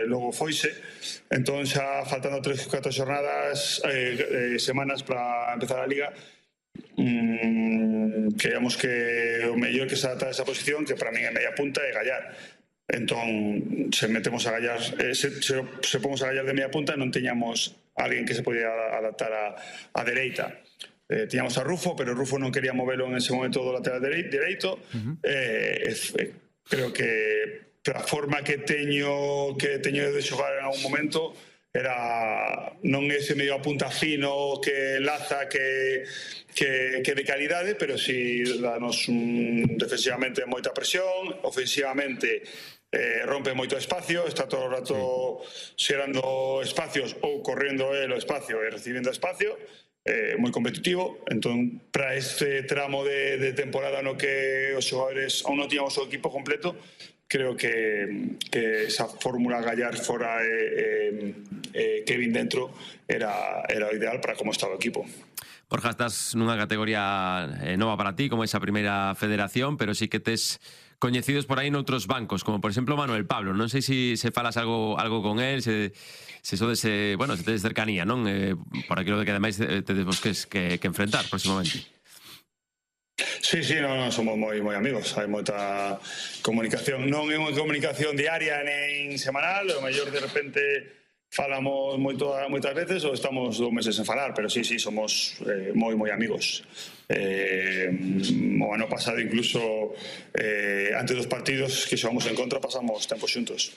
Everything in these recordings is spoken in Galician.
logo foise, entón xa faltando 3-4 xornadas, semanas para empezar a Liga, creíamos que o mellor que se adapta a esa posición, que para min é media punta, é Gallar. Entón, se metemos a Gallar, se pomos a Gallar de media punta, non teñamos alguén que se podía adaptar a dereita. Tiñamos a Rufo, pero Rufo non quería movelo en ese momento do lateral dereito. Creo que a forma que teño de xogar en algún momento era non ese medio a punta fino que laza, que de calidade, pero si danos defensivamente moita presión, ofensivamente rompe moito espacio, está todo o rato xerando espacios ou correndo el o espacio e recibindo espacio, moi competitivo. Entón, para este tramo de temporada no que os xogadores aún non tiñamos o equipo completo, creo que esa fórmula Gallar fora Kevin dentro era o ideal para como estaba o equipo. Borja, estás nunha categoría nova para ti, como esa primeira federación, pero sí que tes coñecidos por aí noutros bancos, como por exemplo Manuel Pablo. Non sei se falas algo con él, se sodes, bueno, se tedes cercanía, non? Por aquilo de que ademais tedes vos que enfrentar próximamente. Sí, non, somos moi amigos, hai moita comunicación, non é unha comunicación diaria nen semanal, o mellor de repente falamos moitas veces ou estamos 2 meses sen falar, pero sí, somos moi amigos. O ano pasado incluso antes dos partidos que xogamos en contra pasamos tempo xuntos.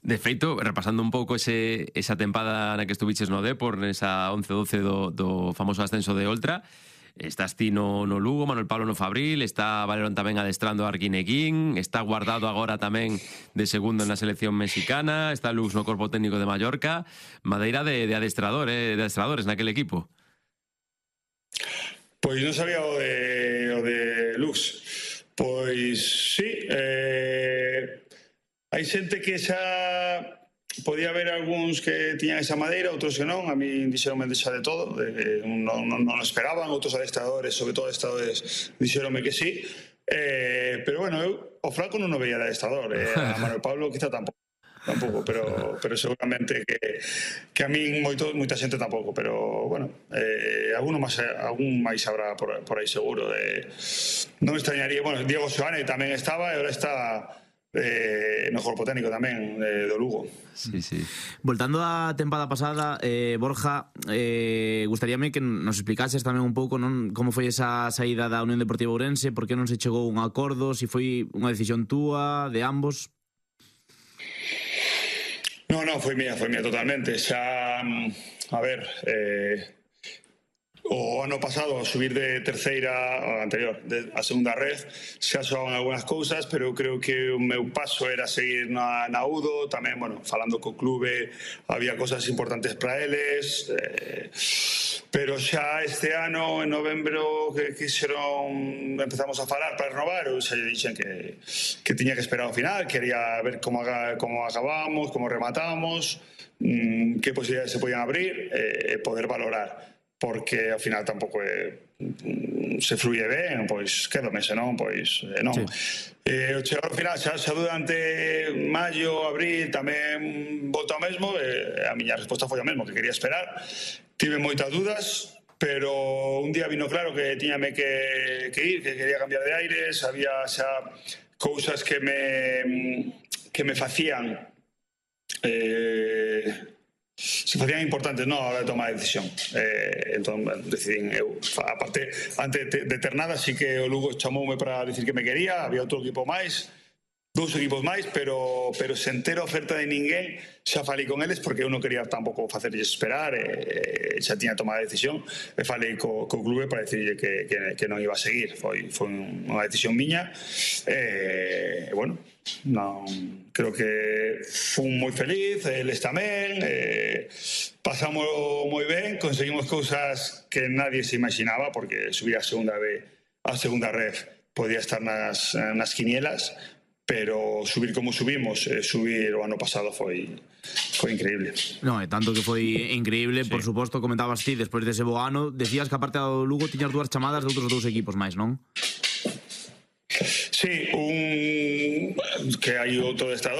De feito, repasando un pouco esa tempada na que estuviches no Depor, nesa 11-12 do famoso ascenso de Oltra, estás ti no Lugo, Manuel Pablo no Fabril, está Valerón tamén adestrando a Arguineguín, está Guardado agora tamén de segundo na selección mexicana, está Lux no corpo técnico de Mallorca, madeira de adestradores naquele equipo. Pois non sabía o de Lux. Pois sí, hai xente que xa podía haber algúns que tiñan esa madeira, outros que non. A mí dixeronme xa de todo, non esperaban. Outros adestradores, sobre todo adestradores, dixeronme que sí, pero bueno, eu o Franco non o veía de adestrador, a Manuel Pablo quizá tampouco, pero seguramente que a min moita xente tampouco, pero bueno, algún máis habrá por aí seguro. Non me extrañaría, bueno, Diego Seoane tamén estaba e agora está no corpo técnico tamén do Lugo. Sí. Voltando á tempada pasada, Borja, gustaríame que nos explicases tamén un pouco, non, como foi esa saída da Unión Deportiva Ourense, por que non se chegou a un acordo, se foi unha decisión túa, de ambos. Non, foi mía totalmente. Xa, a ver, o ano pasado a subir de terceira, o anterior, a segunda red, xa xogaban algunhas cousas, pero eu creo que o meu paso era seguir na UDO, tamén, bueno, falando co clube, había cousas importantes para eles, pero xa este ano, en novembro, que empezamos a falar para renovar, eu xa dixen que tiña que esperar ao final, quería ver como acabamos, como rematamos, que posibilidades se podían abrir, e poder valorar, porque ao final tampouco se fluye ben, pois quédome, senón, pois non. O chegar ao final, xa durante maio, abril, tamén volta ao mesmo, a miña resposta foi o mesmo, que quería esperar. Tive moitas dudas, pero un día vino claro que tiñame que ir, que quería cambiar de aires, había xa cousas que me facían se facían importantes a hora de tomar a decisión. Entón, decidín eu, aparte, antes de ter nada, sí que o Lugo chamoume para decir que me quería, había outro equipo máis, 2 equipos máis, pero sen ter oferta de ninguén, xa falei con eles, porque eu non quería tampouco facerlles esperar, xa tiña tomado a decisión, e falei co clube para decirlle que non iba a seguir. Foi unha decisión miña, bueno, creo que fui moi feliz, eles tamén, pasamos moi ben, conseguimos cousas que nadie se imaginaba, porque subir a segunda red podía estar nas quinielas, pero subir como subimos, subir o ano pasado foi increíble. Non, é tanto que foi increíble, por suposto, comentabas ti, despois dese bo ano, decías que aparte do Lugo tiñas 2 chamadas de outros 2 equipos máis, non? Sí, que hai outro adestrador